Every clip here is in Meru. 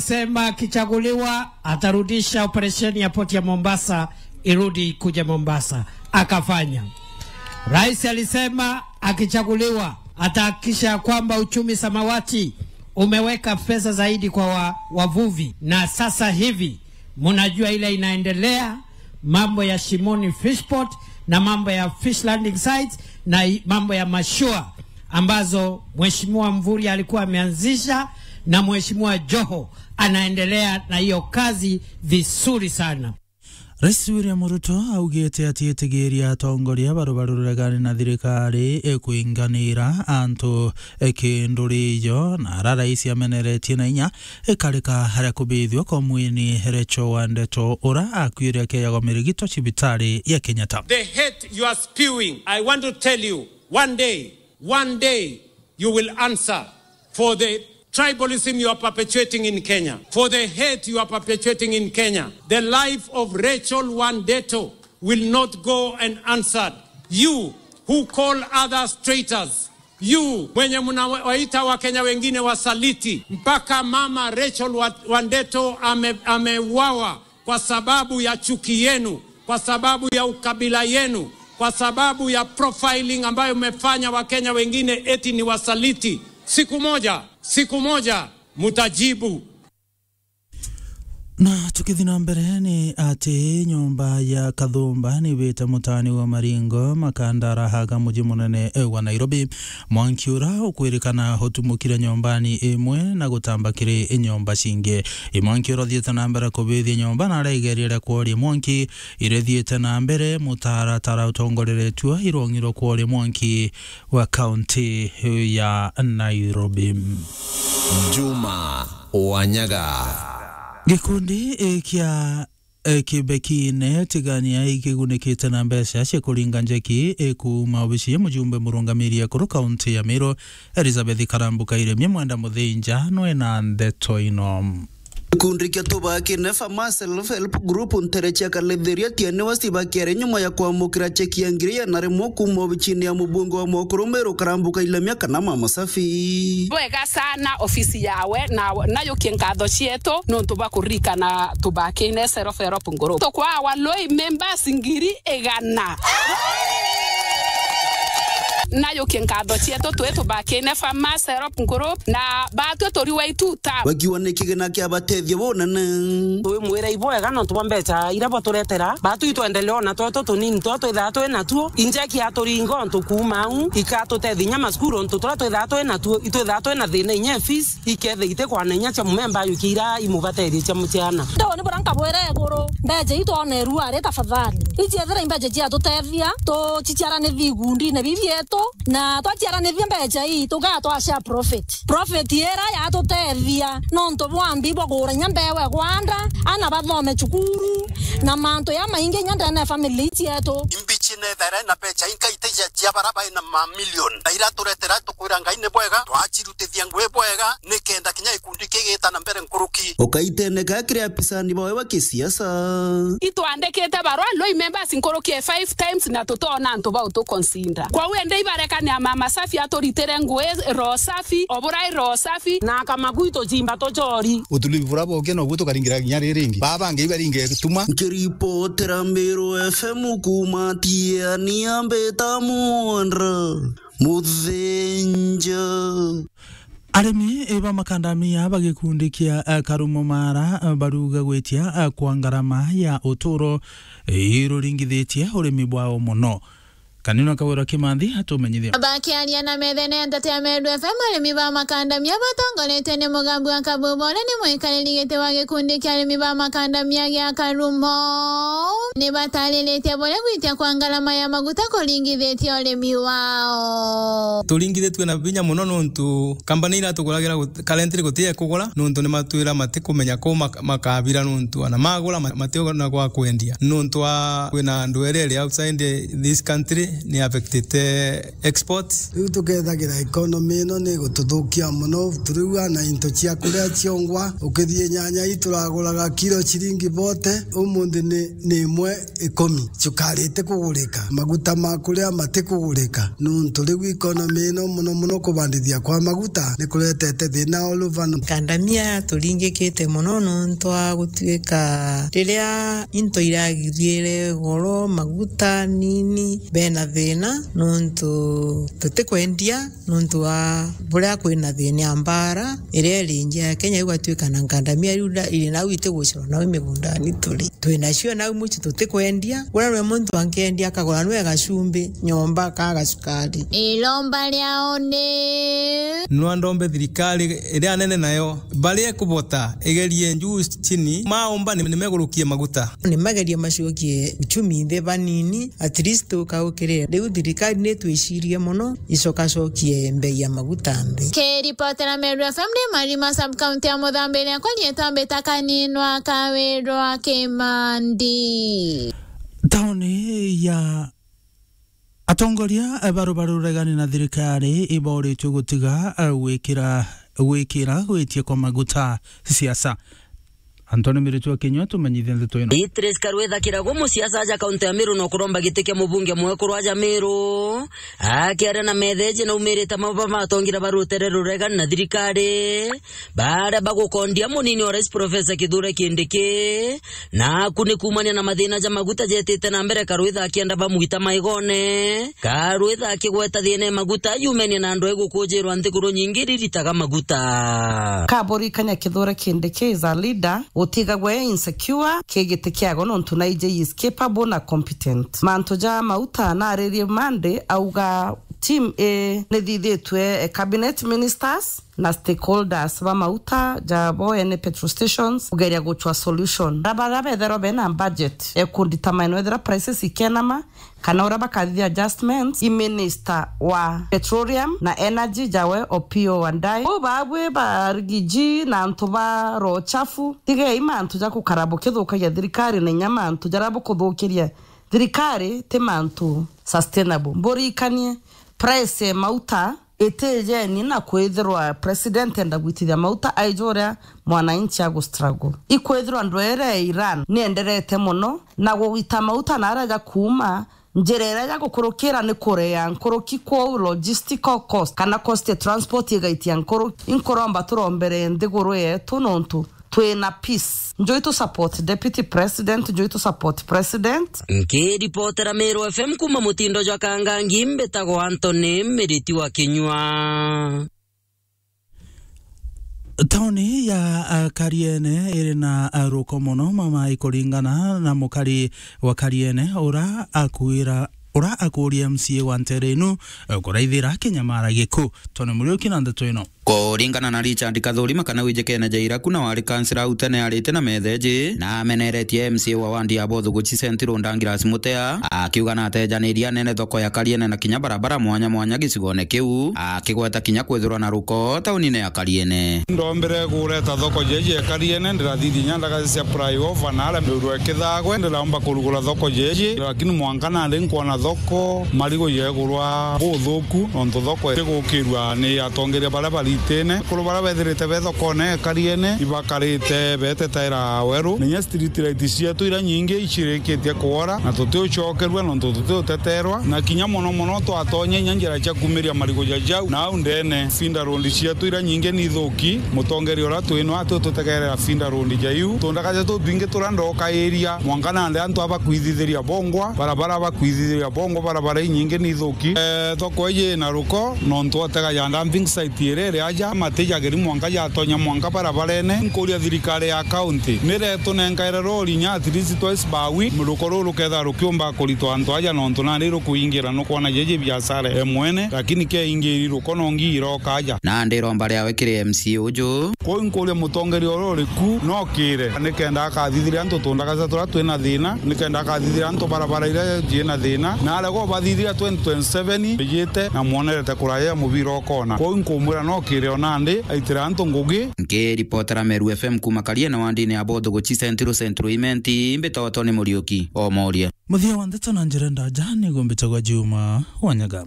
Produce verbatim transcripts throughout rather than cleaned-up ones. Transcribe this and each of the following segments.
Sema akichaguliwa atarudisha operesheni ya poti ya Mombasa irudi kuja Mombasa. Akafanya. Rais alisema akichaguliwa atahakikisha ya kwamba uchumi samawati umeweka pesa zaidi kwa wa-, wavuvi, na sasa hivi mnajua ile inaendelea, mambo ya Shimoni Fishport na mambo ya fish landing sites na i-, mambo ya mashua ambazo Mheshimiwa Mvurya alikuwa ameanzisha na Mheshimiwa Joho anaendelea na hiyo kazi vizuri sana. Rais William Ruto augite ati itigiria atongoria baru baruregani na thirikari ikwinganira antu ikinduri ijo, na ara rais ameneretie na inya ikarika haria kubithua kwa mwini Rachel Wandeto, ura akuire akiejagwa mirigito cibitari ya Kenyatta. The hate you are spewing, I want to tell you, one day, one day, you will answer for the tribalism you are perpetuating in Kenya, for the hate you are perpetuating in Kenya. The life of Rachel Wandeto will not go unanswered. You who call others traitors, you mwenye mnawaita Wakenya wengine wasaliti, mpaka mama Rachel Wa-, Wandeto ame-, ameuawa kwa sababu ya chuki yenu, kwa sababu ya ukabila yenu, kwa sababu ya profiling ambayo mmefanya Wakenya wengine eti ni wasaliti. Siku moja, siku moja mtajibu. Na tukithi na mbere, ni ati nyomba ya Kathumba ni ibite mutaani wa Maringo, Makandara, haga muji munene wa Nairobi. Mwanki ura ukwirikana utumukire nyombani imwe na gutamba kiri nyomba cingi. I mwanki ura uthiite na mbere kubithia nyomba na aregeria ria kworia mwanki irithiite na mbere mutaratara utongoreretue i rwong'i rwa kworia mwanki wa kaunti ya Nairobi. Juma Wanyaga. Gikundi, eh, kia eh, Kibekine Tigania ikigunikite na mbeca cia kuringa njeki, eh, kuuma obici ya mujumbe murungamiri ekuru kaunti ya Meru, Elizabeth Karambu Kairemia Mwenda Muthinja, nwe na ndeto ino. Gikundi kia Tubakine Farmers Self Help Group ntere cia Kalethiria Tiani West bakiari nyuma ya kwamukira cheki ya ngiri igana rimwe kuuma obichini ya mubunge wa Mokuru Meru Karambu Kairemia kana Mama Safi. Bwega sana ofisi yawe, na najukie nkatho cietu nontu bwa kuririkana Tubakine Self Help Group. Tukwawa lui members ngiri igana. Najukie nkatho cietu twi Tubakine Farmers Help Group, na batwi turi wa ituta. Bakiuga ni kigina kia batethia bunene. Twimwira ibwega nontu bwa mbeca iria bwaturetera. Batu itwendelea ona twetu tunini turia twithaa twi natuo. Injeki aturinga untu kuuma au, ikatutethia inya macukuru untu turia twithaa twi natuo, itwithaa twi na thina inya fees. Ikethira itikwana inya cia mumemba yukia iria imubaterie cia muciana. Ndau ni buria nkabwira iguru, mbeca ii twonerua ari tafadhali. Iciethira i mbeca ciatutethia, tuciciaranithia igundine bibi bietu, na twaciaranithia mbeca ii, tugaa twa share profit. Profit ira yatutethia, nontu bwa mbi bwa kugura inya mbeu ya gwanda, ana bathome cukuru, na mantu ya maingi inya ndene ya family cietu. Imbichi nethera na mbeca inkaite cia, cia bara baina mamilioni, na iraturetera tukwira Ngai ni bwega, twacirutithia ngui bwega, nikenda kinya gikundi kigita na mbere nkuruki. Ukaiteneka kiri apisani bawe ba kisiasa. Itwandikite barua lui members nkuruki ya five times na tutona antu ba utu consider. Kwou indi ibarekania Mama Safi aturitire ngui roho safi, oburai roho safi. Na akamaku itucimba tucori. Utulivu bura boke nobu tukaringira kinya riri ringi. Baba bangi ibaringe tuma. Nkiripotera Meru F M kuuma Tiania mbita Mwandra Muthinja. Arimi ba makandamia ba gikundi kia, eh, Karumo Mara, eh, baruga gwitia, eh, kwa ngarama ya uturo, eh, iruringithitie urimi bwao muno. Kanino Kawira Kimathi atumenyithia. Bakiaria na methene ya nteto ya Meru F M, arimi ba makandamia batongoretwe ni Mugambi wa Kabubore ni mwikariri giti wa gikundi kia arimi ba makandamia gia Karumo. Ni batariritie buria gwitia kwa ngarama ya maguta kuringithitie urimi wao. Turingithitue na vinya muno nontu kambani iria tuguragira gut-, currently guti ya kugura nontu ni matwira matikumenya ku mak-, makabira nontu ana magura ma-, mationa gwa kwendia nontu wa kwina andu erere outside this country ni affectite exports. Riu tukethagira economy ino ni gututhukia mono, turiua na into cia kuria ciongwa, ukithie nyanya ituraguraga kilo ciringi bote, umunthi ni, ni imwe ikumi. Cukari itikugurika, maguta ma kuria matikugurika, nuntu riu economy ino mono mono kubandithia kwa maguta ni kuretete thina all over. Kandamia turingikite mono nuntu wa gutuika riria into iragithiere goro, maguta nini, bena thina nuntu tutikwendia nuntu wa buria kwina thina ya mbara iria iri nja ya Kenya, igatuika na nkandamia riu nda-, iri nau itigucirwa nau migundani turi. Twinacio nau muci tutikwendia. Uria rwe muntu ankendia akagura nwe gacumbi, nyomba, ka gacukari. Iromba riao ni nwa ndombe thirikari iria nene nayo, baria ikubota, igerie njuu chini, maumba ni, nimegurukie maguta. Nimagerie macokie uchumi nthi banini, at least tukaukirire. Riu thirikari ni twicirie mono, icokacokie mbei ya maguta nthi. Kiripotera Meru F M ni Marima sub county ya Muthambi, riakwa rietwa Mbita Kaninwa Kawirwa Kimandi. Tauni ya atongoria ba rubaru ruregani na thirikari iboritwe gutiga, eh, gwikira, gwikira gwitia kwa maguta siasa. Anthony Miritwa Kinyua tumenyithie ndeto ino. Beatrice Karwitha Kiragu, musiasa aja kaunti ya Meru, no kuromba giti kia mubunge mwekuru aja Meru, akiaria na metheji naumirite maba matongira ba rutere ruregani na thirikari, baria bagukondia munini wa rais Professor Kithure Kindiki, naku ni kuumania na mathina ja maguta jetite na mbere, Karwitha akienda bamwita maigone, Karwitha akigweta thina ya maguta yumenie na andu egukujirwa nthiguru nyingi riritaga maguta. Kaburikania Kithure Kindiki is a leader, utigagwe insecure, ki giti kiago nontu naiji is capable na competent. Mantu ja mauta naririe Monday, auga team A nithithitwe, eh, cabinet ministers na stakeholders ba mauta ja bo ene petrol stations kugeria gucwa solution. Bara, bara betherwa bena budget, eh, ku determine wethira prices ikenama, kana uria bakathithia adjustments, i minister wa petroleum na energy jawe Opiyo Wandayi. Uu babwi ba Rigiji na antu ba roho chafu, tigei mantu ja gukara bukithukagia thirikari na inya mantu jaria bukuthukiria thirikari ti mantu sustainable. Mburikanie, price ya mauta itijeni na kwithirwa president enda gwitithia mauta aija uria mwananchi agu struggle. Ikwithirwa ndwere ya Iran nienderete mono na gugita mauta na aria ja kuuma, njira iria ya gukurukira ni kurea nkuruki, kwou logistical cost kana cost ya transport igaitia nkuru. Inkuromba turombere nthiguru yetu nontu twina peace. Njui tu support deputy president, njui tu support president. Nkiripotera Meru F M kuuma mutindo jwa Kangangi, mbitagwa Anthony Miriti wa Kinyua. Tauni ya, ah, Kariene iri na, ah, ruko mono mama ikuringana na mukari wa Kariene ura akwira, ura akuria M C A wa ntere inu, eh, kuraithira kinyamara giku. Tony Muriuki na ndeto ino. Kuringana na Richard Kathurima kana wijikene ja ira kuna wari kansila au tene arite na metheji, na ameneretie M C A wa wandi ya Bothuguchi Central Douglas Mutea, akiuga na atejaniria anene thoko ya Kariene na kinya barabara mwanya mwanya gicigone kiu, akigweta kinya kwithirwa na ruko taunine ya Kariene. Ndombire kureta thoko jeji ya Kariene, ndirathithia inya ndagaca cia flyover na aria miruru ikithagwe, ndiromba kurugura thoko jeji, lakini mwanka nandi nkwona thoko marigo yegurwa buthuku, nontu thoko itigukirua ni atongeria baria baritine. Akuru baria bethirite be thokone Kariene ibakarite betetaira weru, na inya street light cietu iria nyingi icirikitie kwora, na tutiucokerua nontu tutiuteterwa, na kinya mono mono twatonya inya njira cia kumiria marigo ja jau na au ndene. Feeder road cietu iria nyingi ni ithuki, mutongeria uria twino ati ututegerera feeder road ja iu. Tundagaca tutwingi turia ndokairia, mwanka nandi antu abakwithithiria bongwa, barabara bakwithithiria bongwa, barabara inyingi ni ithuki. Eh, thoko iji ina ruko, nontu otega ya dumping site iri iri aja, mati jagiri mwanka jatonya mwanka barabarene. Nkuria thirikari ya county, niretunenkaire rori inya at least twice per week, ruko ruu rukethira rukiumba kuritwa antu aja, nontu nandi rukuingira nukwona jeji biashara e mwene, lakini keingiri ruko nongi iroka aja. Nandi iromba riawe kiri M C A uju. Kwou nkuria mutongeria uria uri ku nokire, nikenda akathithiria antu tundagaca turia twina thina, nikenda akathithiria antu barabara iria ciina thina, na arega ubathithiria twenty twenty-seven ijite na mwonerete kuraya ya mubira ukona. Kwou nkumwira nokire o nandi aitire antu ngugi. Nkiripotera Meru F M kuuma Kariene wandini ya Bothuguchi Central, Central Imenti, mbitagwa Tony Muriuki, Omoria. Muthia wa ndeto na njira ndaja ni gumbitagwa Juma Wanyaga.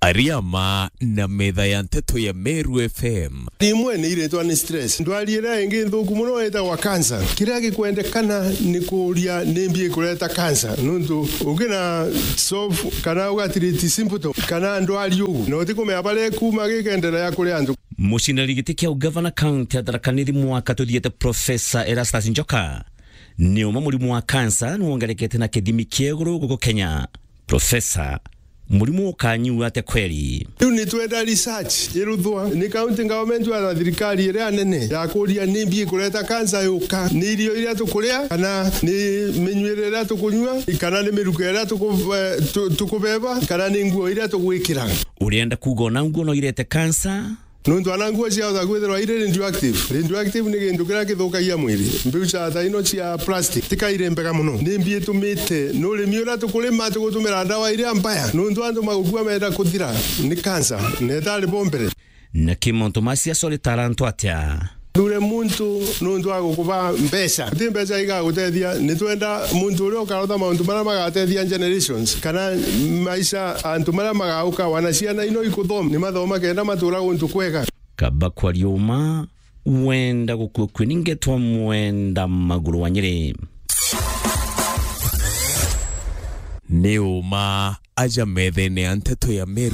Ariama na metha ya nteto ya Meru F M. Rimwe ni iretwa ni stress. Ndwari iria ingi nthuku muno itagwa cancer. Kiria gikwendekana ni kuria ni mbi ikureta cancer. Nuntu ungina solve kana ugatiriti symptom kana ndwari uu. Na utikumenya baria ikuma gikenderea kuri antu. Mucinari giti kia ugavana kaunti ya Tharaka Nithi mwaka tuthiete, Professor Erastus Njoka, ni uma murimu wa kansa ni wongerekete na kithimi kia iguru guku Kenya. Professor, murimu ukanyua atia kweri? Riu ni twenda research iruthwa ni county government na thirikari iria nene ya kuria ni mbi ikureta kansa yuka, ni irio iria tukuria, kana ni minyuire iria tukunyua, kana ni miruka iria tuku-, eh, tu-, tukubeba, kana ni nguo iria tugwikira. Urienda kuuga ona nguo no irete kansa? Nuntu ana nguo ciahota kwithirwa iri radioactive. Radioactive ni gintu kiria kithukagia mwiri. Mbiu cia ta ino cia plastic, tika iri mbega muno. Ni mbi itumite ni urimi uria tukurima tugutumira ndawa iria mbaya. Nuntu antu magukua menda kuthira ni kansa, na itari bo mbere. Na ki mauntu ma siasa uri tarantu atia? Thure muntu nuntu wa gukuba mbeca. Ti mbeca igagutethia. Ni twenda muntu uria ukarotha mauntu maria magatethia generations, kana maisha antu maria magauka, wana ciana ino ikuthoma, ni mathoma kenda matura guntu kwega. Kaba kwaria uma, wenda gukua kwi ni ngetwa Mwenda Maguru wa Nyeri. Ni uma aja methene ya nteto ya Meru.